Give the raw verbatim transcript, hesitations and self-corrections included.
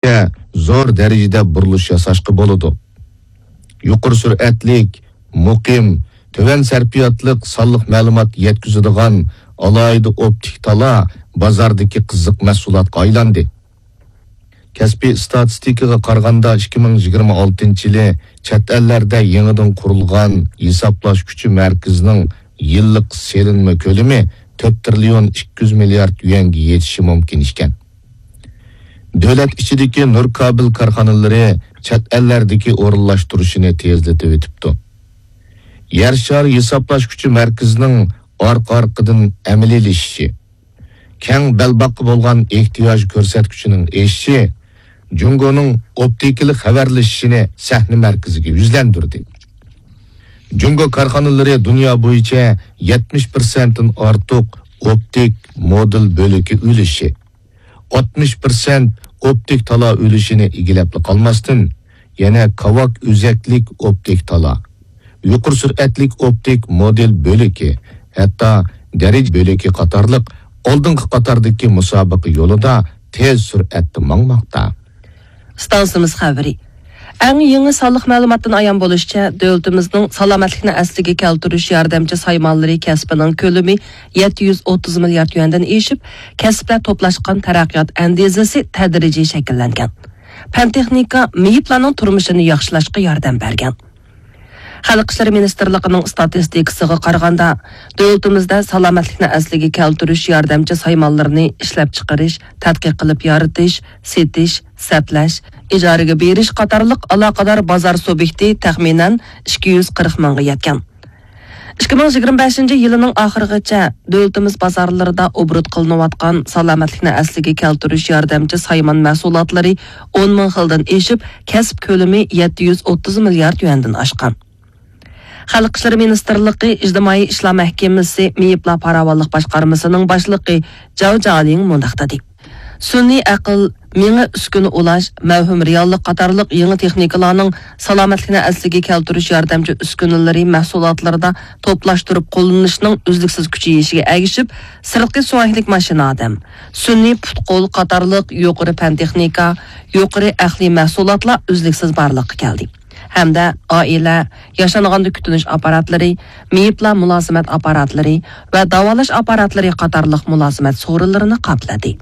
زور دەرىجىدە بۇرۇلۇش ياساشقا بولىدۇ. يۇقىرى سۈرئەتلىك، مۇقىم، تۆۋەن سەرپىياتلىق سانلىق مەلۇمات يەتكۈزىدىغان ئالاھىدە ئوپتىك تالا بازاردىكى قىزىق مەھسۇلاتقا ئايلاندى. كەسپىي ئىستاتىستىكىغا قارىغاندا، ئىككى مىڭ يىگىرمە ئالتىنچى يىلى چەت ئەللەردە يېڭىدىن قۇرۇلغان ھېسابلاش كۈچى مەركىزىنىڭ يىللىق سېلىنما كۆلىمى تۆت تىرىليون ئىككى يۈز مىليارد يۈەنگە يېتىشى مۇمكىن ئىكەن. دۆلەت ئىچىدىكى نۇر كابېل كارخانىلىرى چەت ئەللەردىكى ئورۇنلاشتۇرۇشىنى تېزلىتىۋېتىپتۇ. يەر شارى ھېسابلاش كۈچى مەركىزىنىڭ ئارقا-ئارقىدىن ئەمەلىيلىشىشى، كەڭ بەلباغقا بولغان ئېھتىياج كۆرسەتكۈچىنىڭ ئېشىشى جۇڭگونىڭ ئوپتىكىلىق خەۋەرلىشىشىنى سەھنە مەركىزىگە يۈزلەندۈردى. جۇڭگو كارخانىلىرى دۇنيا بويىچە يەتمىش پىرسەنتتىن ئارتۇق ئوپتىك مودۇل بۆلىكى ئۈلۈشى، ئاتمىش پىرسەنت ئوپتىك تالا ئۈلۈشىنى ئىگىلەپلا قالماستىن، يەنە كاۋاك ئۆزەكلىك ئوپتىك تالا، يۇقىرى سۈرئەتلىك ئوپتىك مودېل بۆلىكى، ھەتتا دەرىجە بۆلىكى قاتارلىق ئالدىنقى قاتاردىكى مۇسابىقە يولىدا تېز سۈرئەتتە ماڭماقتا. ئىستانسىمىز خەۋىرى. ئەڭ يېڭى سانلىق مەلۇماتتىن ئايان بولۇشىچە، دۆلىتىمىزنىڭ سالامەتلىكنى ئەسلىگە كەلتۈرۈش ياردەمچى سايمانلىرى كەسپىنىڭ كۆلىمى يەتتە يۈز ئوتتۇز مىليارد يۈەندىن ئېشىپ، كەسىپلەر توپلاشقان تەرەققىيات ئەندىزىسى تەدرىجىي شەكىللەنگەن. پەن تېخنىكا مېيىپلارنىڭ تۇرمۇشىنى ياخشىلاشقا ياردەم بەرگەن. خەلق ئىشلىرى مىنىستىرلىقىنىڭ ئىستاتىستىكىسىغا قارىغاندا، دۆلىتىمىزدە سالامەتلىكنى ئەسلىگە كەلتۈرۈش ياردەمچى سايمانلىرىنى ئىشلەپچىقىرىش، تەتقىق قىلىپ يارىتىش، سېتىش، سەپلەش، ئىجارىگە بېرىش قاتارلىق ئالاقىدار بازار سۇبيېكتى تەخمىنەن ئىككى يۈز قىرىق مىڭغا يەتكەن. ئىككى مىڭ يىگىرمە بەشىنچى يىلىنىڭ ئاخىرىغىچە دۆلىتىمىز بازارلىرىدا ئوبوروت قىلىنىۋاتقان سالامەتلىكنى ئەسلىگە كەلتۈرۈش ياردەمچى سايمان مەھسۇلاتلىرى ئون مىڭ خىلدىن ئېشىپ، كەسىپ كۆلىمى يەتتە يۈز ئوتتۇز مىليارد يۈەندىن ئاشقان. خەلق ئىشلىرى مىنىستىرلىقى ئىجتىمائىي ئىشلار مەھكىمىسى مېيىپلار پاراۋانلىق باشقارمىسىنىڭ باشلىقى جاۋ جالىڭ مۇنداق دېدى: سۈنئىي ئەقىل، مېڭە ئۈسكۈنە ئۇلاش، مەۋھۇم رېئاللىق قاتارلىق يېڭى تېخنىكىلارنىڭ سالامەتلىكنى ئەسلىگە كەلتۈرۈش ياردەمچى ئۈسكۈنىلىرى مەھسۇلاتلىرىدا توپلاشتۇرۇپ قوللىنىشنىڭ ئۈزلۈكسىز كۈچىيىشىگە ئەگىشىپ، سىرتقى سۇياكلىق ماشىنا ئادەم، سۈنئىي پۇت-قول قاتارلىق يۇقىرى پەن تېخنىكا، يۇقىرى ئەقلىي مەھسۇلاتلار ئۈزلۈكسىز بارلىققا كەلدى ھەمدە ئائىلە، ياشانغاندا كۈتۈنۈش ئاپپاراتلىرى، مېيىپلار مۇلازىمەت ئاپپاراتلىرى ۋە داۋالاش ئاپپاراتلىرى قاتارلىق مۇلازىمەت سورۇنلىرىنى قاپلىدى.